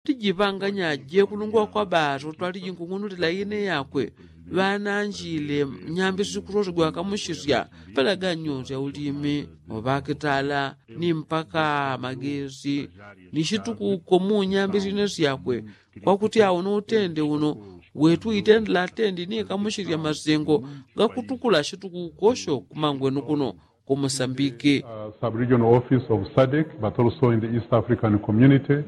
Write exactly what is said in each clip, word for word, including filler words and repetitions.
Lijipanganya jekulungwa kwa baso twaliji nkung'unulila ine yakwe ŵananjile nyambi sikusosigwa kamusisya palaganyo sya ulimi oŵakitala ni mpaka magesi ni situkuko mu nyambi sine syakwe. Kwakuti awo no utende uno wetu itendela atendi ni kamusisya masengo gakutukula situkuko syo kumangwenu kuno ku musambiki. Subregional office of sadek but also in the east african community.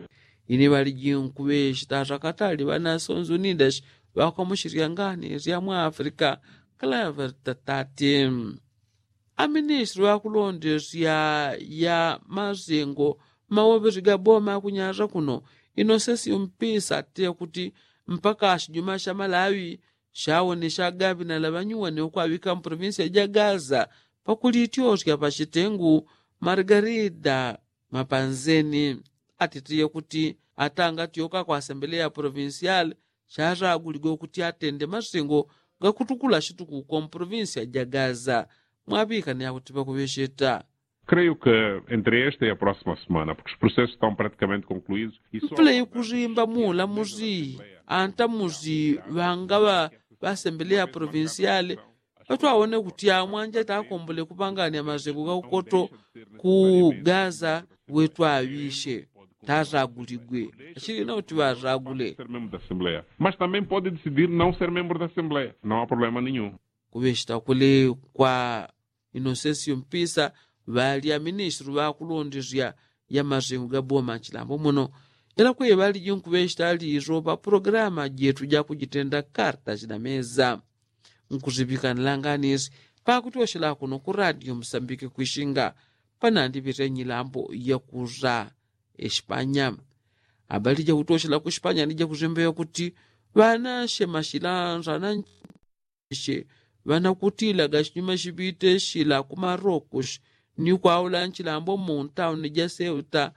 Ine ŵaliji nkuŵe sitasa katali ŵanasonzunidas ŵakwamushirya ngani sya mwa afrika. Klaver tatati. Aministri ŵakulondesya ya masengo mawovesi ga boma kunyasa kuno inosesi umpisa te kuti mpaka shijuma sha malawi shawonesha gaŵinala ŵanyuwani ukwaŵika mu provinsia ja gaza pakulityosya pashitengu. Margarida mapanzeni atitiye kuti atangatyoka kwa asembeleya provinsial shasaguligwe kuti atende masengo gakutukula shitukuko mu provinsia ja gaza. Mwaŵikana yakuti ŵakuŵesheta. Creio que entre esta e a próxima semana porque os processos estão praticamente concluídos. Mpule ikusimba muulamusi antamusi ŵangaŵa ŵasembeleya provinsial ŵatwawone kuti amwanja takombole kupangania masengo gaukoto ku gaza. Wetwaŵishe tasaguligwe achilina kuti ŵasagule. Mas também pode decidir não ser membro da assembleia não há problema nenhum. Kuŵesheta kule kwa inosesio mpisa ŵali aministri ŵakulondesya ya masengo ga boma chilambo muno. Ela kwe ŵaliji nkuŵesheta liso pa programa jetu ja kujitenda karta china meza. Nkusiŵikanila nganisi pakutyosela kuno ku radio musambike kwishinga panandiŵite nyilambo yakusa espanya. Abali jakutyosela ku espanya ni jakusimbeya kuti ŵanashe mashila nsananchi she ŵanakutilaga shinyuma shiŵite shila ku marokus ni kwaula nchilambo mu ntauni ja seuta.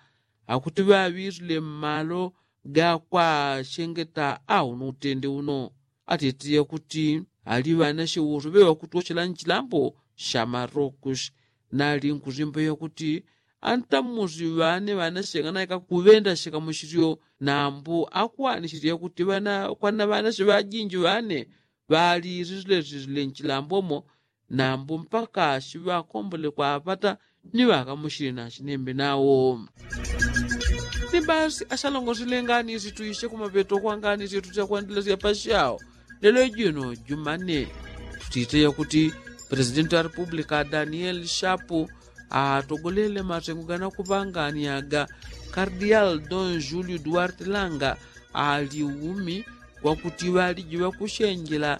Akuti ŵaŵisile mmalo ga kwashengeta au nu utende uno. Atitiye kuti ali ŵanashe usu ŵeŵakutwoshela nchilambo sha marokus. Nali nkusimbeya kuti antamusi ŵane ŵanashe nganaika kuŵenda shikamushilyo nambu akwanishilye kuti ŵana kwana ŵanashe ŵajinji ŵane ŵalisilesile nchilambomo. Nambu mpaka shiŵakombole kwaŵata ni ŵakamushili na shinembe nawo. Ni basi ashalongosile ngani situishe kumapeto kwa ngani situsya kwendelesya pashao. Lelo jino jumane tutiteya kuti presidenti wa republika daniel shapu atogolele masengo ganakuŵangani aga kardial don julio duarte langa ali umi. Wakuti ŵaliji ŵakushenjela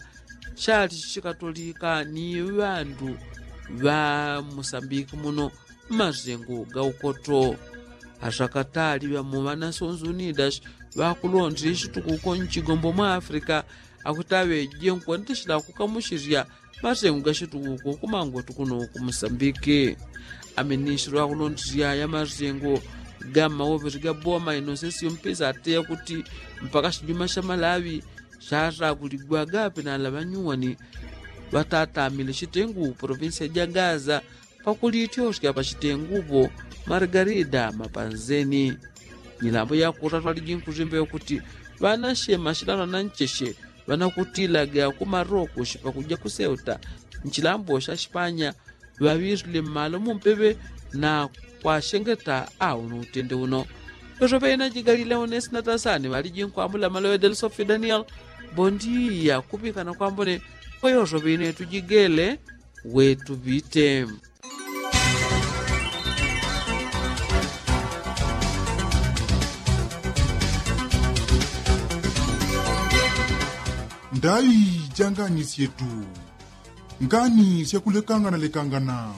chalichi chikatolika ni ŵandu ŵa musambiki muno mmasengo ga ukoto. Asakatali ŵamu ŵanasonzi unidas ŵakulondela ishitukuko nchigombo mwa afrika akuti aŵeje nkwendeshela kukamushilya masengo ga shitukuko kumangwetu kuno ku musambiki. Aministri ŵakulondela ya masengo ga mmawovesi ga boma inosesi umpisa ateya kuti mpaka shijuma sha malawi shasaguligwaga apenala ŵanyuwani ŵatatamile shitengu provinsia ja gaza pakulityosya pashitengupo. Margarida mapanzeni nyilambo yakutatwaliji nkusimbeya kuti ŵanashe mashilano anancheshe ŵanakutilaga ku marokus pakuja ku seuta nchilambo sha shipanya ŵaŵisile mmalo mumpeŵe na kwashengeta au nu utende uno. Yosoŵe ina jigalile unesi natasani ŵaliji nkwambula maloŵe del sofi daniel. Bondiya kuŵikana kwambone kwa yosoŵe ine tujigele. Wetuŵite. Ndaŵi ja ngani syetu ngani syakulekangana lekangana.